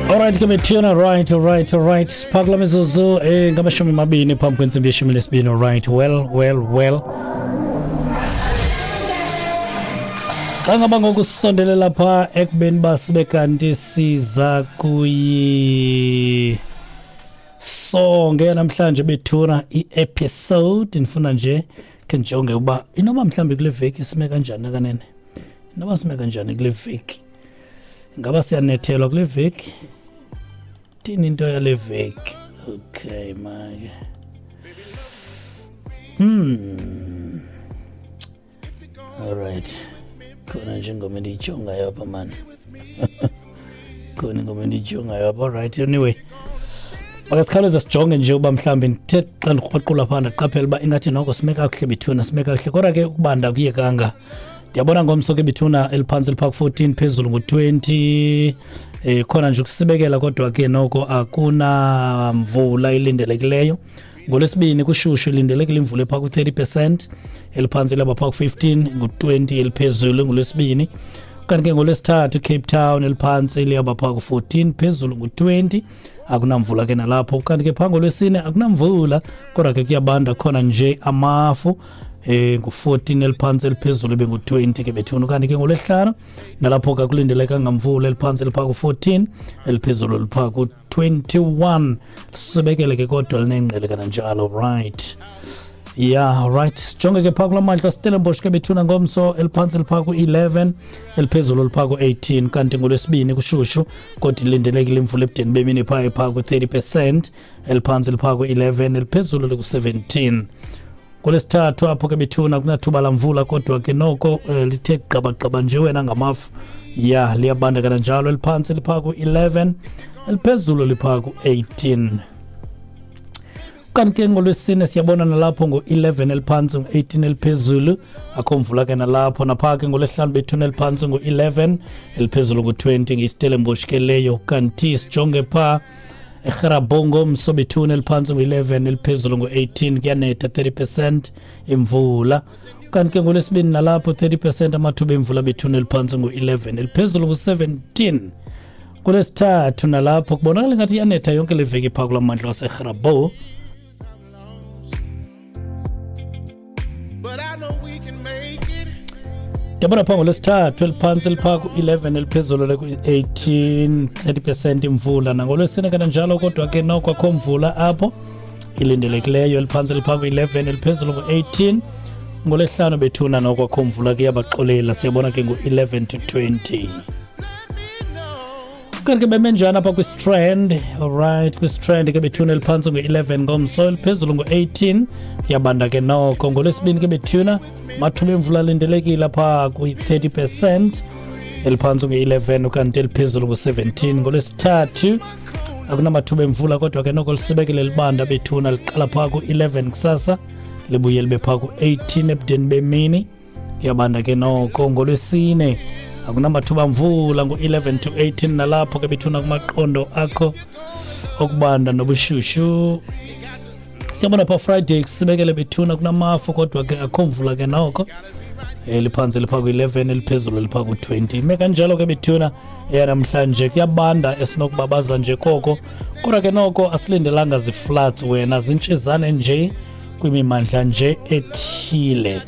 Alright ke bethuna, right, alright, alright. Sipha kula mizuzu ngamashumi mabini phambi kwentsimbi yeshumi lesibini. Alright, well, well, well. Xa ngaba ngoku sisondelela pha ekubeni uba sibe kanti siza kuyi songe namhlanje bethuna i-episode, ndifuna nje khe ndijonge uba inoba mhlawumbi kule veki sime kanjani kanene, inoba sime kanjani kule veki, ingaba siyanethelwa kule veki, thini into yale veki. Okay make, alright, khona nje ingoma endiyijongayo apha mani, khona ingoma endiyijongayo apha. Alright, anyway, makasikhawuleze sijonge nje uba mhlawumbi ndithe xa ndikrwaqula phaa ndaqaphela uba ingathi noko sime kakuhle bethuna, sime kakuhle, kodwa ke ukubanda kuyekanga. Ndiyabona ngomso ke bethuna eliphantsi liphaa ku-14, phezulu ngu-20. Khona nje ukusibekela, kodwa ke noko akunamvula ilindelekileyo. Ngolwesibini kushushu, ilindelekile imvula ephaa ku-30%, eliphantsi laba phaa ku-15, ngu-20 eliphezulu ngolwesibini. Kanti ke ngolwesithathu Cape Town eliphantsi liyaba phaa ku-14, phezulu ngu-20, akunamvula ke nalapho. Kanti ke phaa ngolwesine akunamvula, kodwa ke kuyabanda, khona nje amafu, ngu-14 eliphantsi, eliphezulu ibe ngu-20 ke bethuna. Kanti ke ngolwesihlanu nalapho ke akulindelekanga mvula, eliphantsi liphaa ku-14, eliphezulu liphaa ku-21, lisibekele ke kodwa linengqele kananjalo. Right, yeah, right, sijonge ke phaa kula mandla Stellenbosch ke bethuna ngomso, eliphantsi liphaa ku-11, eliphezulu liphaa ku-18. Kanti ngolwesibini kushushu, kodwa ilindelekile imvula ebudeni bemini phaa ephaa ku-30%, eliphantsi liphaa ku-11, eliphezulu liku-17. Ngolwesithathu apho ke bethuna kunathuba lamvula, kodwa ke noko lithe gqabagqaba nje wena ngamafu, ya liyabanda kananjalo, eliphantsi liphaa ku-11, eliphezulu liphaa ku-18. Kanti ke ngolwesine siyabona nalapho ngo-11 eliphantsi, ngo-18 eliphezulu, akho mvula ke nalapho. Naphaa ke ngolwesihlanu bethuna eliphantsi ngo-11, eliphezulu ngo-20, ngeStellenbosch ke leyo. Kanti sijonge phaa eGrabongo ngomso bethuna, eliphantsi ngo-11, eliphezulu ngo-18, kuyanetha, 30% imvula. Kanti ke ngolwesibini nalapho 30% amathuba emvula bethuna, eliphantsi ngo-11, eliphezulu ngo-17. Kulesithathu nalapho kubonakala ngathi iyanetha yonke le veki phaa kula mandla waseGrabouw. But I know we can make it. Ndiyabona phaa ngolwesithathu eliphantsi liphaa ku-11, eliphezulu leku-18, 30% imvula. Nangolwesine kananjalo, kodwa ke noko akho mvula apho ilindelekileyo, eliphantsi liphaa ku-11, eliphezulu ngu-18. Ngolwesihlanu bethuna noko akho mvula ke, yabaxolela, siyabona ke ngu-11 to 20. Kanti ke beme njani apha kwiStrand? Alright, kwiStrand ke bethuna eliphantsi ngu-11 ngomso, eliphezulu ngu-18, kuyabanda ke noko. Ngolwesibini ke bethuna mathuba emvula alindelekile apha kwi-30%, eliphantsi ngu-11 ukanti eliphezulu ngu-17. Ngolwesithathu akunamathuba emvula, kodwa ke noko lisibekele libanda bethuna, liqala phaa ku-11 kusasa libuye libe phaa ku-18 ebudeni bemini, kuyabanda ke noko. Ngolwesine akunamathuba mvula, ngu-11 to 18 nalapho ke bethuna kumaqondo akho okubanda nobushushu. Siyabona pha Friday kusibekele bethuna, kunamafu kodwa ke akho mvula ke noko, eliphantsi liphaa ku-11, eliphezulu liphaa ku-20. Ime kanjalo ke bethuna eyanamhlanje, kuyabanda esinokubabaza nje koko, kodwa ke noko asilindelanga zifloods wena, zintshizane nje kwimimandla nje ethile.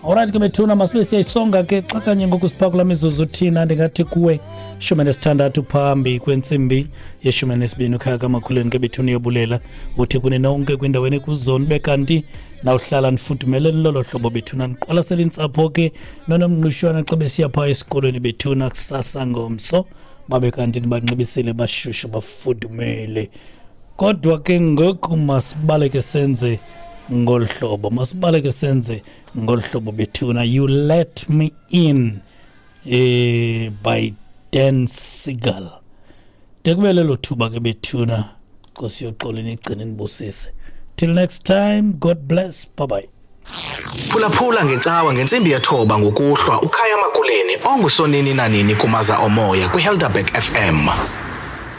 Alright ke bethuna, masibe siyayisonga ke xa kanye ngoku siphaa kula mizuzu thina ndingathi kuwe 16 phambi kwentsimbi ye-12. Ukhaya kamakhuleni ke bethuna uyobulela, uthi kuni nonke kwindaweni ekuzoni be kanti nawuhlala nifudumele lolo hlobo bethuna, niqwalasela intsapho ke nonomnqushwana xa besiya phaa esikolweni bethuna kusasa ngomso, babe kanti nibanxibisile bashushu bafudumele. Kodwa ke ngoku masibaleke senze ngolu hlobo, masibaleke senze ngolu hlobo bethuna. You Let Me In by Dan Siegel. De kube lelo thuba ke bethuna, Nkosi yoxolo nigcine nibusise. Till next time, God bless, bye bye. Phulaphula ngecawa ngentsimbi yethoba ngokuhlwa uKhaya Makuleni ongusonini nanini kumaza omoya kwiHelderberg FM.